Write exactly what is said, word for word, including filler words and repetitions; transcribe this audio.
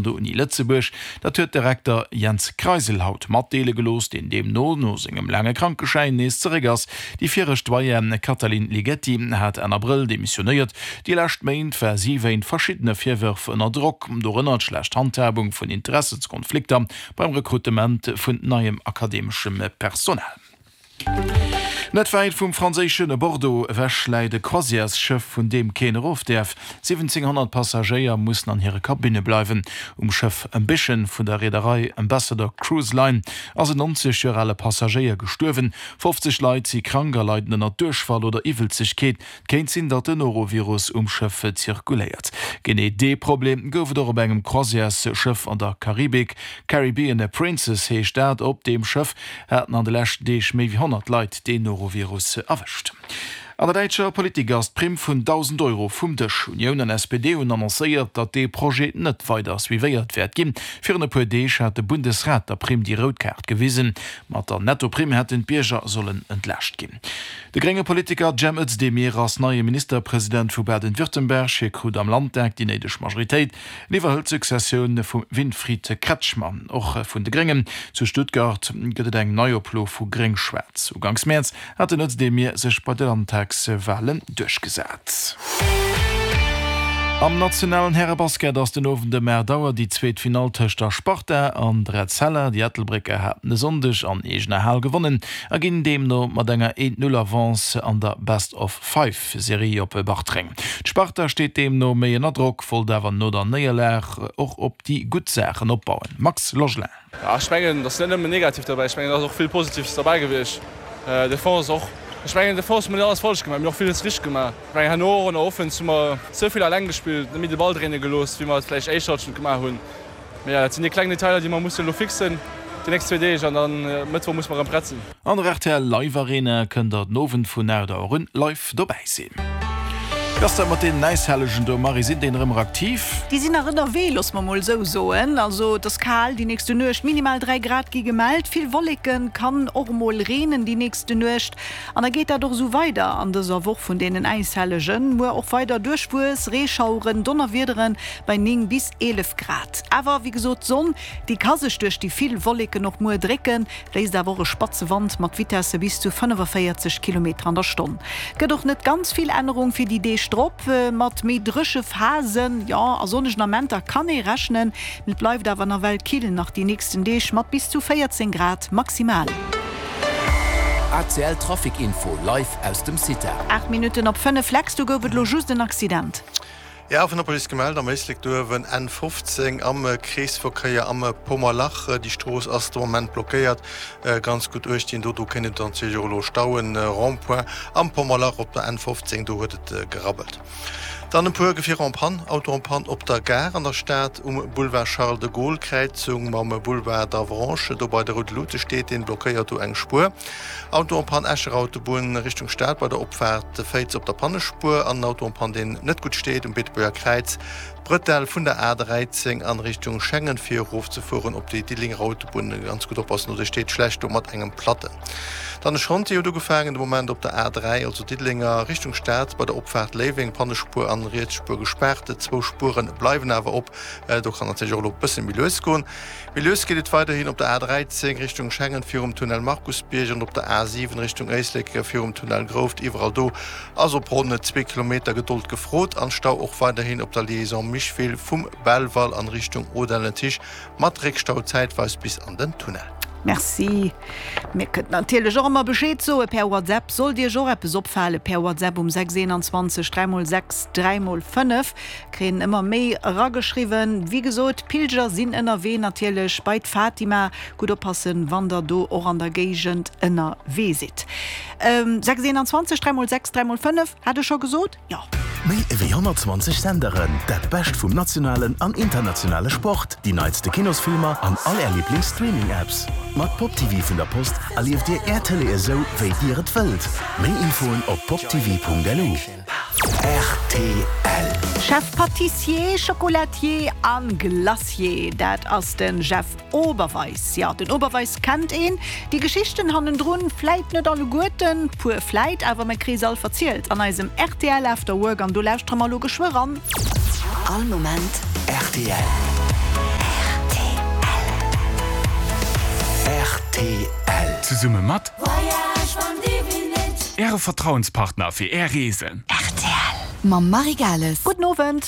der Uni Lëtzebuerg. Dat huet de Rekter Jens Kreisel haut matdeele gelooss, deen deemno no sengem laange Krankeschäin nees zeréck ass. Déi viregt Doyenne Katalin Ligeti hat Enn Abrëll demissionéiert. Déi lescht Méint war si wéint verschiddene Virwërf ënner Drock, dorënner d'schlecht Handhabung vun Interessenskonflikter beim Rekrutement vun neiem akademeschem Personal. Net wäit vum franséische Bordeaux ewech läit e Croisièresschëff, vun deem keen erof däerf. siwwenzénghonnert Passagéier mussen an hire Kabinne bleiwen. Um Schëff Ambition vun der Reederei Ambassador Cruise Line ass en nonzeg Joer ale Passagéier gestuerwen. fofzeg Leit si krank a leiden ënner Duerchfall oder Iwwelzegkeet. Et kéint sinn, datt den Norovirus um Schëff zirkuléiert. Genee dee Problem gouf et och op engem Croisièresschëff an der Karibik. Caribbean Princess heescht dat. Op deem Schëff haten an de leschten Deeg méi wéi honnert Leit deen Norovirus erwëscht. An der däitscher Politik ass d'Primm vun dausend Euro vum Dësch. Unioun an S P D hunn annoncéiert, datt dee Projet net weider suivéiert wäert ginn. Virun e puer Deeg hat de Bundesrat der Primm déi rout Kaart gewisen. Mat der Nettoprimm hätten d'Bierger sollen entlaascht ginn. De grénge Politiker Cem Özdemir ass neie Ministerpresident vu Baden-Württemberg. Hie krut am Landtag déi néideg Majoritéit. En iwwerhëlt d'Successioun vum Winfried Kretschmann, och vun de Gréngen. Zu Stuttgart gëtt et eng Neioplo vu Gréng-Schwaarz. Uganks Mäerz hat den Özdemir sech bei de Landtagswalen duerchgesat. Am nationalen Härebasket ass den Owend ëm aacht Auer déi zweet Finall tëscht der Sparta an der Etzella. Déi Ettelbrécker haten e Sonndeg an eegener Hal gewonnen a ginn deemno mat enger eent-Null Avance an der Best-of-Five-Serie op Bartreng. D'Sparta steet deemno méi ënner Drock, wollt awer no der Néierlag och op déi gutt Saachen opbauen. Max Logelin. Ech mengen, et ass net nëmmen negativ derbäi, ech mengen, et ass och vill Positives derbäi gewiescht. Defense och. Ech mengen, Defense hu mer net alles falsch gemaach, mir hunn och villes richteg gemaach. Ech mengen, herno och an der Offense hu mer ze vill eleng gespillt, net méi de Ball dréine gelooss, wéi mer et vläicht éischt Halschent gemaach hunn. Mee jo, dat sinn déi kleng Detailer, déi mer mussen elo fixen déi nächst zwee Deeg an dann Mëttwoch musse mer erëm prett sinn. An der rtl Live Arena kënnt der den Owend vun aacht Auer un live dobäi sinn. Wéi ass dat mat deenen Äishellegen do, Marie? Sinn déi nach ëmmer aktiv? Déi sinn nach ënnerwee, loosse mer mol esou soen. Also et ass kal déi nächste Nuecht, minimal dräi Grad gi gemellt, vill Wolleken, kann och emol reenen déi nächste Nuecht. An da geet dat och esou weider an dëser Woch vun deenen Äishellegen. Muer och weider duerchwuess Reeschaueren, Donnerwiedere bei néng bis eelef Grad. Awer wéi gesot, d'Sonn déi ka sech duerch déi vill Wolleken och muer drécken, bléist awer och e spatze Wand mat Vitesse bis zu fënnefavéierzeg Kilometer an der Stonn. Gëtt och net ganz vill Ännerung fir déi Deeg drop. Mat méi dréche Phasen, jo, a sonnegen Amenter kann ee rechnen, mee et bleift awer nawell kill nach déi nächsten Deeg mat bis zu véierzéng Grad maximal. A C L Trafic Info live aus dem CITA. Aacht Minutten op fënnef, Lex, do gouf et lo just en Accident. Jo, vun der Police gemellt am Éislek do uewen, N fofzéng am Kreesverkéier am Pommerlach. Déi Strooss ass de Moment blockéiert. Ganz gutt uecht dinn do, do kéint et natierlech och elo stauen. Rond-point am Pommerlach op der N fofzéng, do huet et gerabbelt. Dann e puer Gefierer en panne, Auto en panne op der Gare an der Stad um Boulevard Charles de Gaulle, Kräizung mam Boulevard d'Avranches, do bei de roude Lute steet deen, blockéiert do eng Spuer. Auto en panne Escher Autobunn Richtung Stad bei der Opfaart Féiz op der Pannespuer an en Auto en panne deen net gutt steet um Beetebuerger Kräiz, D'Bretelle vun der A dräizéng an Richtung Schengen fir erof ze fueren op déi Diddelenger Autobunn. Ganz gutt oppassen do, déi steet schlecht do mat engem Platten. Dann e Chantier huet ugefaangen de Moment op der A dräi, also Diddelenger Richtung Stad bei der Opfaart Léiweng, Pannespuer an riets Spuer gespaart. Zwou Spuere bleiwen awer op. Do kann natierlech och elo e bësse méi lues goen. Méi lues geet et weiderhin op der A dräizéng Richtung Schengen virum Tunnel Markusbierg an op der A siwen Richtung Éislek virum Tunnel Grouft. Iwwerall do ass op ronn zwee Kilometer Gedold gefrot an Stau och weiderhin op der Liaison Micheville vum Belval an Richtung Audun-le-Tiche mat Réckstau zäitweis bis an den Tunnel. Merci. Mir kënnt natierlech och ëmmer Bescheed soe per WhatsApp. Sollt Iech och eppes opfale per WhatsApp um sechs eenanzwanzeg dräi mol sechs dräi mol fënnef. Kréien ëmmer méi erageschriwwen. Wéi gesot, d'Pilger sinn ënnerwee natierlech bei d'Fatima. Gutt oppassen, wann der do och an der Géigend ënnerwee sidd. Sechs eenanzwanzeg dräi mol sechs dräi mol fënnef, hat ech scho gesot? Jo. Méi ewéi honnertzwanzeg Senderen, dat Bescht vum nationalen an internationale Sport, déi neitste Kinosfilmer an all är Liiblings-Streaming-Apps. Mat PopTv vun der Post erlieft dir är Tëlee esou, wéi dir et wëllt. Méi Infoen op poptv Punkt L U. Rtl. Chef Pâtissier, Chocolatier an Glacier, dat ass den Jeff Oberweis. Jo, den Oberweis kennt een, déi Geschichten hannendrun vläit net alleguerten, puer vläit, awer mer kréie se all verzielt an eisem rtl After Work an do lauschtere mer elo geschwë ran. All Moment rtl. Zesumme mat Äre Vertrauenspartner fir Är Reesen. R T L mam Marie Gales. Gudden Owend.